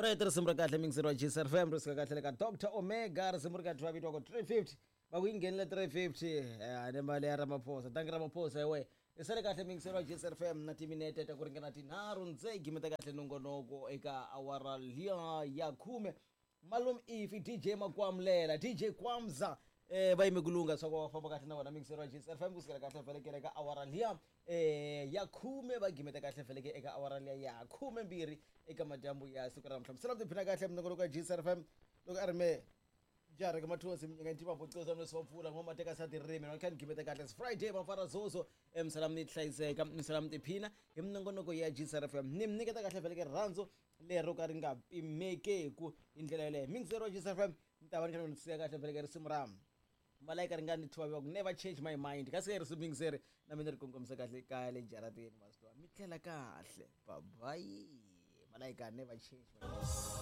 Right, risimu ra kahle mingiseri wa GCRFM, ri suka kahle le ka Dr Omega, risimu ri ka twa vitiwaka 350. Va ku yi nghenile 350, ni mali ya Ramaphosa. Tangi Ramaphosa hi wehe. I sale kahle mingiseri wa GCRFM na timinete ta ku ringana 3 ndze gimeta kahle nongonoko eka awara liya ya 10. Malume Ifi, DJ Makwamlela, DJ Kwamza, va yime ku lungha swa ku va famba kahle na wona mingiseri wa GCRFM kusukela kahle velekele eka awara liya ya 10, va gimeta kahle veleke eka awara liya ya 12 eka madyambu ya siku ra namuntlha. Misala mi tiphina kahle minongonoko ya GCRFM loko a ri me jara ka mathosi minyanga ntima bocoza mleswi va pfula n'wa mateka sa tirimi na kha ni gimeta kahle. It's Friday mafara zozo, misala mi hlayiseka, misala mi tiphina hi minongonoko ya GCRFM. Ni mi nyiketa kahle veleke rirhandzu lero ka ri nga pimekeku hi ndlela yeleyo. Mingiseri wa GCRFM, mi ta va ni kha ni siya kahle veleke risimu ra Malayika ri nga ni thwa ku Never Change My Mind, kasi risimu mingiseri na mina ri kongomisa kahle kaya le jaratini. Masitwa mi tlela kahle, bye bye. Malayika, Never Change My Mind.